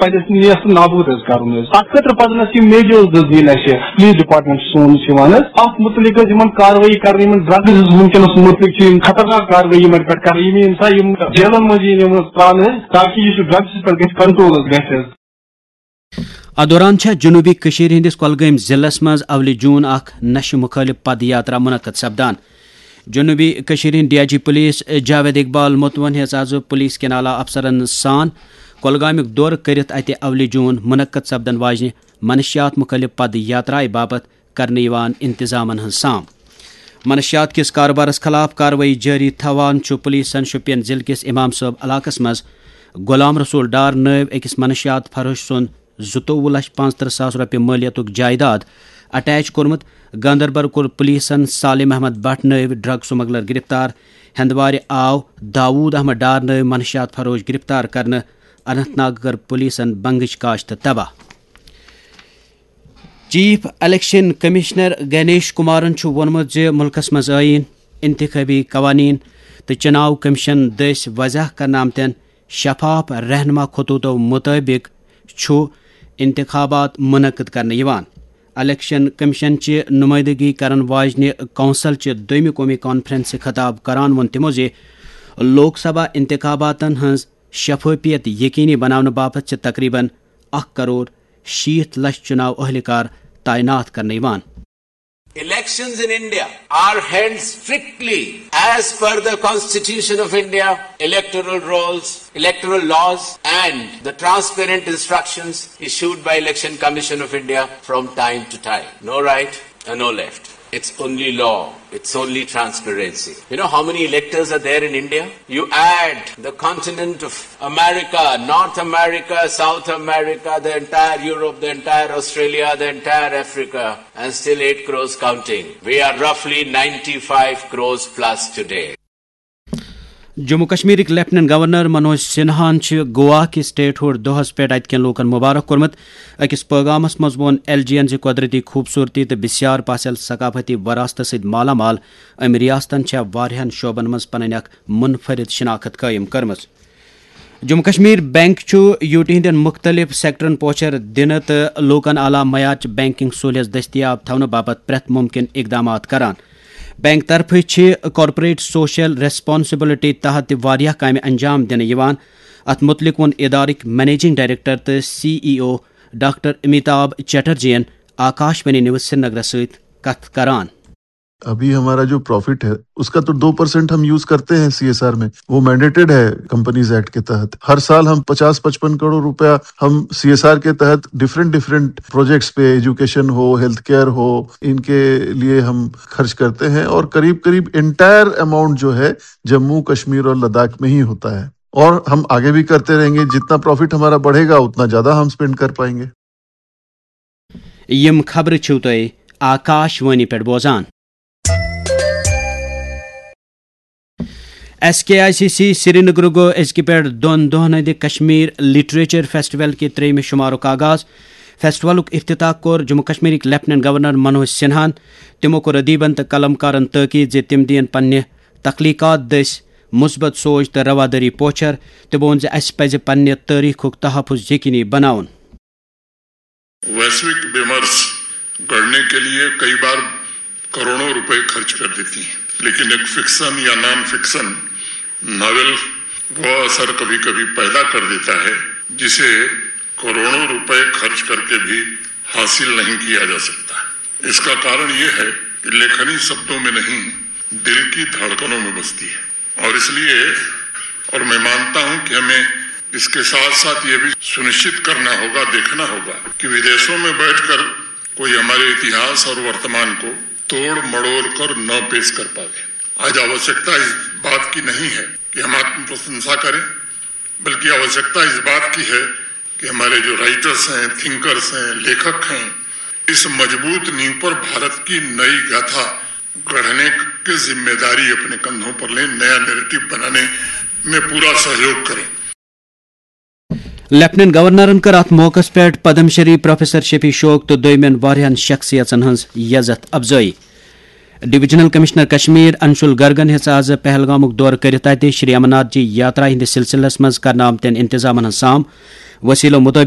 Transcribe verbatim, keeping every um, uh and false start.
پزِ اَسہِ نیست نابود حظ کرُن حظ۔ اتھ خٲطرٕ پزن اَسہِ یِم میجٲرٕس حظ نِنۍ اَسہِ۔ پُلیٖس ڈپارٹمنٹ سون چھُ یِوان حظ، اتھ مُتعلق حظ یِمن کاروٲیی کرنہٕ، یِمن ڈرگز حظ وٕنکیٚنس مُتعلق چھِ یِم خطرناک کاروٲیی یِمن پٮ۪ٹھ کرنہٕ، یِم یِن سا یِم جیلن منٛز یِن یِم ترٛاونہٕ حظ، تاکہِ یہِ چھُ ڈرگز پٮ۪ٹھ گژھِ کنٹرول حظ گژھِ حظ۔ اتھ دوران چھےٚ جنوبی کٔشیٖر ہٕنٛدِس کۄلگٲمۍ ضلعس منٛز اولِ جوٗن اکھ نشہٕ مُخٲلف پد یاترا منعقد سپدان۔ جنوبی کٔشیٖرِ ہٕنٛدۍ D I G police Javed Iqbal Matoo ہیٚژ آز پُلیٖس کٮ۪ن اعلیٰ افسرن سان کۄلگامیُک دورٕ کٔرِتھ اَتہِ اولِ جوٗن منعقد سپدن واجنہِ منشیات مُخٲلف پد یاترایہِ باپتھ کرنہٕ یِوان انتظامن ہٕنٛز سام۔ منشیات کِس کارٕبارس خلاف کاروٲیی جٲری تھاوان چھُ پُلیٖسن شوپین ضلعہٕ کِس امام صٲب علاقس منٛز غلام رسول ڈار نٲوۍ أکِس منشیات فروش سُنٛد زٕتووُہ لچھ پانٛژترٕٛہ ساس رۄپیہِ مٲلیتُک جائیداد اٹیچ کوٚرمُت۔ گاندربل کوٚر پُلیٖسن سالم احمد بٹ نٲوۍ ڈرگ سمگلر گرفتار۔ ہندوارِ آو داوود احمد ڈار نٲوۍ منشیات فروش گرفتار کرنہٕ۔ اننت ناگ کٔر پُلیٖسن بنگٕچ کاشت تباہ۔ Chief election commissioner Ganesh Kumaran چھُ ووٚنمُت زِ مُلکَس منٛز ٲییٖن، انتخابی قوانین تہٕ چُناو کمیشن دٔسۍ وضع کرنہٕ آمتٮ۪ن شفاف رہنما خطوطو مُطٲبِق چھُ انتخابات منعقد کرنہٕ یِوان۔ الیکشن کمیشن چہِ نمائندگی کرن واجنہِ کونسل چہِ دوٚیمہِ قومی کانفرنسہِ خطاب کران ووٚن تِمو زِ لوک سبھا انتخاباتن ہٕنٛز شفافیت یقینی بناونہٕ باپتھ چھِ تقریباً اکھ کرور شیٖتھ لچھ چُناو اہلکار تعینات کرنہٕ یِوان۔ Elections in India are held strictly as per the Constitution of India, electoral rolls, electoral laws, and the transparent instructions issued by Election Commission of India from time to time. No right and no left. It's only law. It's only transparency. You know how many electors are there in India? You add the continent of America, North America, South America, the entire Europe, the entire Australia, the entire Africa, and still eight crores counting. We are roughly ninety-five crores plus today. Jammu کشمیرٕکۍ lieutenant governor Manoj سنہاہن چھِ گوا کہِ state hood دۄہس پٮ۪ٹھ اتہِ کٮ۪ن لوٗکن مبارک کوٚرمُت۔ أکِس پٲغامس منٛز ووٚن ایل جی ین زِ قۄدرٔتی خوٗبصوٗرتی تہٕ بسیار پاسل ثقافتی وراثتہٕ سۭتۍ مالا مال أمۍ ریاستن چھےٚ واریاہن شعبن منٛز پنٕنۍ اکھ منفرد شناخت قٲیِم کٔرمٕژ۔ جموں کشمیر بینک چھُ یوٗ ٹی ہٕنٛدٮ۪ن مُختٔلِف سیکٹرن پوچھر دِنہٕ تہٕ لوٗکن اعلیٰ معیارٕچ بینکنگ سہولیژ دٔستیاب تھاونہٕ باپتھ پرٛٮ۪تھ مُمکِن اقدامات کران۔ بینک طرفہٕ چھِ کارپوریٹ سوشل ریسپانسبلٹی تحت تہِ واریاہ کامہِ انجام دِنہٕ یِوان۔ اتھ مُتعلق ووٚن ادارٕکۍ منیجنگ ڈائریکٹر تہٕ سی ای او ڈاکٹر امیتابھ چٹرجی ین آکاش وانی نیوز سرینگرس سۭتۍ کتھ کران۔ ابھی ہمارا جو پروفٹ ہے، اس کا تو دو پرسینٹ ہم یوز کرتے ہیں سی ایس آر میں، وہ مینڈیٹڈ ہے کمپنیز ایکٹ کے تحت۔ ہر سال ہم پچاس پچپن کروڑ روپیہ ہم سی ایس آر کے تحت ڈفرینٹ ڈفرینٹ پروجیکٹس پہ، ایجوکیشن ہو، ہیلتھ کیئر ہو، ان کے لیے ہم خرچ کرتے ہیں، اور قریب قریب انٹائر اماؤنٹ جو ہے جموں کشمیر اور لداخ میں ہی ہوتا ہے۔ اور ہم آگے بھی کرتے رہیں گے، جتنا پروفٹ ہمارا بڑھے گا اتنا زیادہ ہم اسپینڈ کر پائیں گے۔ یِم خبرٕ چھِو تۄہہِ آکاش وانی پٮ۪ٹھ بوزان۔ S K I C C Srinagar گوٚو أزکہِ پٮ۪ٹھ دۄن دۄہن ہٕنٛدِ کشمیر لٹریچر فیسٹیول کہِ ترٛیٚیمہِ شمارُک آغاز۔ فیسٹیولُک افتتاح کوٚر جموں کشمیرٕکۍ لیفٹیننٹ گورنر منوج سنہاہن۔ تِمو کوٚر ادیبن تہٕ قلمکارن تاکید زِ تِم دِین پننہِ تخلیقات دٔسۍ مثبت سوچ تہٕ روادٲری پوچھر۔ تِمو ووٚن زِ اسہِ پزِ پننہِ تٲریخُک تحفظ یقینی بناوُن۔ वैश्विक विमर्श गढ़ने के लिए कई बार करोड़ों रुपए खर्च कर देती हैं, लेकिन एक फिक्शन या नॉन फिक्शन नॉवेल वह असर कभी कभी पैदा कर देता है जिसे करोड़ों रुपए खर्च करके भी हासिल नहीं किया जा सकता। इसका कारण यह है कि लेखनी शब्दों में नहीं, दिल की धड़कनों में बसती है। और इसलिए, और मैं मानता हूं कि हमें इसके साथ साथ ये भी सुनिश्चित करना होगा, देखना होगा कि विदेशों में बैठकर कोई हमारे इतिहास और वर्तमान को तोड़ मड़ोड़ कर न पेश कर पावे। आज आवश्यकता इस बात की नहीं है कि हम आत्मप्रशंसा करें, बल्कि आवश्यकता इस बात की है कि हमारे जो राइटर्स हैं, थिंकर्स हैं, लेखक हैं, इस मजबूत नींव पर भारत की नई गाथा गढ़ने की जिम्मेदारी अपने कंधों पर लें, नया नैरेटिव बनाने में पूरा सहयोग करें। لیفٹیننٹ گورنرن کٔر اتھ موقعس پٮ۪ٹھ پدم شری پروفیسر شفیع شوق تہٕ دوٚیمٮ۪ن واریاہن شخصیژن ہٕنٛز یزتھ افزٲیی۔ ڈویژنل کمشنر کشمیر انشول گرگن ہیٚژ آز پہلگامُک دورٕ کٔرِتھ اتہِ شری امرناتھ جی یاترا ہٕنٛدِس سلسلس منٛز کرنہٕ آمتٮ۪ن انتظامن ہٕنٛز سام۔ وسیلو مُطٲبِق